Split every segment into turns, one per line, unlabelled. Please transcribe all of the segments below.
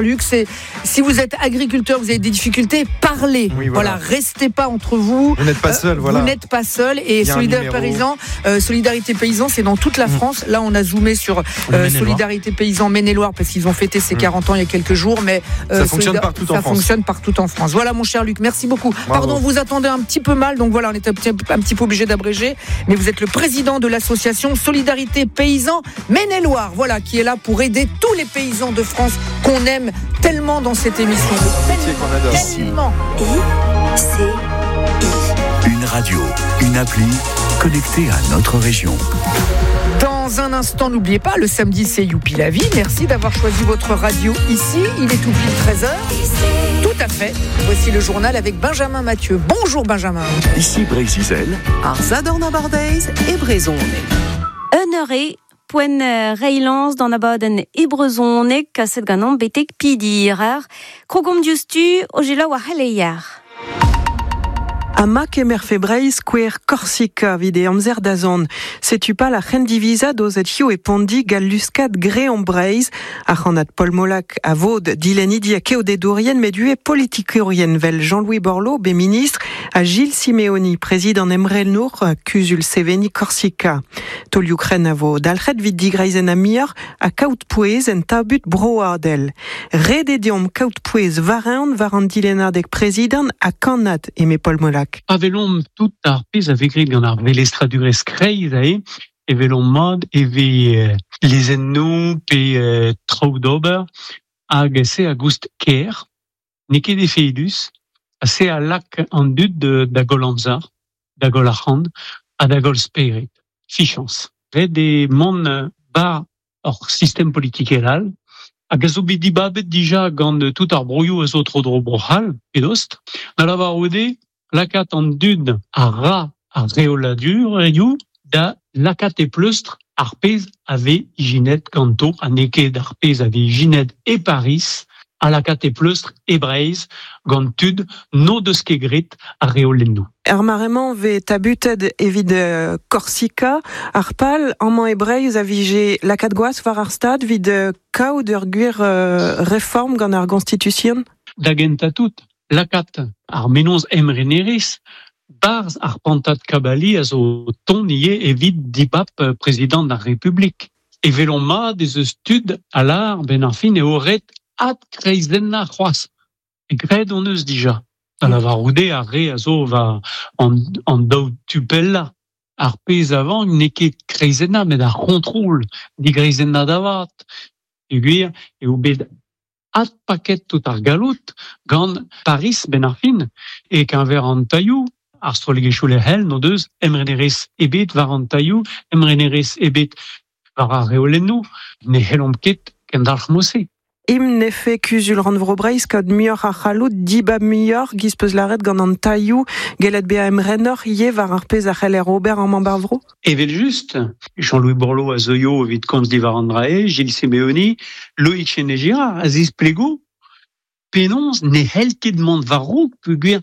Luc, c'est si vous êtes agriculteur, vous avez des difficultés, parlez.
Oui, voilà.
Voilà, restez pas entre vous.
Vous n'êtes pas seul, voilà.
Vous n'êtes pas seul. Et
Il y a un
Solidarité
numéro.
Paysan, Solidarité Paysan, c'est dans toute la France. Là, on a zoomé sur
Le Maine-et-Loire.
Solidarité Paysan Maine-et-Loire parce qu'ils ont fêté ses 40 ans il y a quelques jours. Mais
Ça fonctionne partout en
ça
France.
fonctionne partout en France. Voilà, mon cher Luc, merci beaucoup.
Bravo.
Pardon, vous attendez un petit peu mal, donc voilà, on est un petit peu obligé d'abréger. Mais vous êtes le président de l'association Solidarité Paysan Maine-et-Loire, voilà, qui est là pour aider tous les paysans de France qu'on aime tellement dans cette émission.
Métier qu'on adore.
Tellement.
I C I.
Une radio, une appli connectée à notre région.
Dans un instant, n'oubliez pas, le samedi, c'est Youpi la vie. Merci d'avoir choisi votre radio ici. Il est tout pile 13h. Tout à fait. Voici le journal avec Benjamin Mathieu. Bonjour Benjamin.
Ici Brésil,
Ar Zadorn Abardaez e brezhoneg.
Eunere poen reilans d'an abadenn e brezhoneg kaset ganan betek pidir ar krogomp diouzhtu o gelaou ar c'heleier.
Ama kemer febreiz kouer Korsika vide amzer da zon. Setu pa la c'hendivisa dozet hio e pondi gal luskat greon breiz, ar c'hannad Paul Molac a vod dilenidi a keodedourien medue politikourien vel Jean-Louis Borloo, be ministre, a Gilles Simeoni, président Emrel Nour, kuzul Seveni Korsika. Tol Ukren a vo dalc'het vid digreizen a mior a kaout pouez en tabut broadel. Rede deomp kaout pouez vareon var an dilenadek président a kannad eme Paul Molac.
Pavelon tout ar pez a vegret gant ar velestradurez kreiz ae, e velon mad e ve lezennoù pe traoù d'ober hag se a goust ker, n'eo ket efedus, ha se a lak an dud da gol amzer, da gol arc'hant, ha da gol spered, fichans. Ret e mont bar ur sistem politikel all, hag a zo bet dibabet dija gant tout ar broioù a zo tro dro bro-C'hall, pedost, da lavar ode, lakat an dud a ra ar reoladur eo da lakat e pleustr ar pez a ve ijinet ganto, a n'eo ket ar pez a ve ijinet e Paris, a lakat e pleustr e Breizh gant tud no deus ket gret ar reolennoù.
Er maremañ ve tabutet evit Korsika, ar pal amañ e Breizh a vije lakat gwaz war ar stad vid kaout ur gwir reform gant ar Constitution?
Da gentañ tout, lakat ar menoz emrenerez, barz ar pantad kabali a zo ton ie evit dibap président ar Republik. E velon mat ez eus tud a lar ben ar fin e oret ad kreizenna c'hoazh. E gred on eus dija. Da lavaroude ar re a zo va an daou tupella. Ar pez avant n'eo ket kreizenna, met ar c'hontrol digreizenna davat. E gwir eo bet ad paket tout ar galout gant Paris ben ar fin e keñver an tailhoù, ar strollegezhioù lec'hel n'o deus emrenerez ebet war an tailhoù, emrenerez ebet war ar reolennoù, ne c'hellomp ket kendalc'h mose.
Im nefe kuzul rannvro Breizh kaout muioc'h ar c'hallout dibab muioc'h giz peus laret gant an tailhoù gellet bezañ emrenoc'h ivez war ar pezh a c'heller ober amañ bar vro?
Evel just, Jean-Louis Borloo a zeuio evit komz diwar an drae, Gilles Simeoni, Loïc Chesnais-Girard a zisplego penaos ne c'hell ket mont war-raok peogwir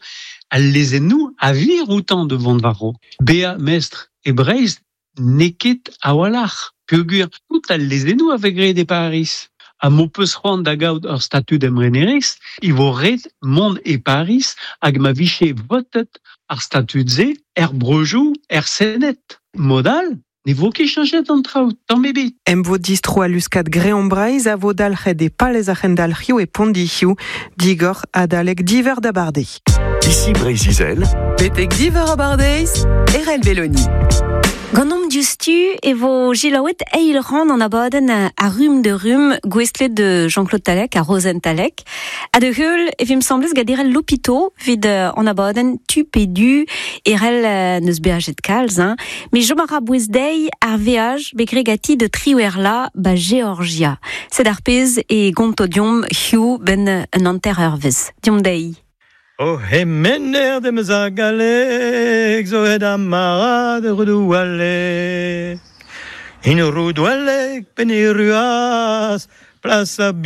al lezennoù a vir outañ de vont war-raok. Bezañ mestr e Breizh n'eo ket a-walc'h peogwir tout al lezennoù a vez graet e Paris. Ha m'ho peus c'hoant da gaout ur statud emrenerez, e vo ret mont e Paris hag ma vije votet ar statud-se er breujoù, er Senet. Modal, ne vo ket cheñchet an traoù, tamm ebet.
Em vo distro a luskat Greon Breizh a vo dalc'het e palez ar c'hendalc'hioù e Pondic'hioù, digor adalek diver da barde.
Ici Brésil,
Betek diver a bardeiz, Erel Belloni.
Ganomp diouzhtu e vo gelaouet eil ran an abadenn a rum de rum gouestlet de Jean-Claude Talec a Rozenn Talec. Ha de heul e vim semblez gant Erel Lopito vid an abadenn tu pe du erel neus beajet kalz, hein. Mais jom a ra bouez deiz ar veaj bet gregati de triwerla ba Georgia. Sed ar pez e gonto diom hiu ben un anter eurvez. Diom deiz.
O hemener demeus a galleg zo het amarad roudoualek. In roudoualek pen e ruaz, plas a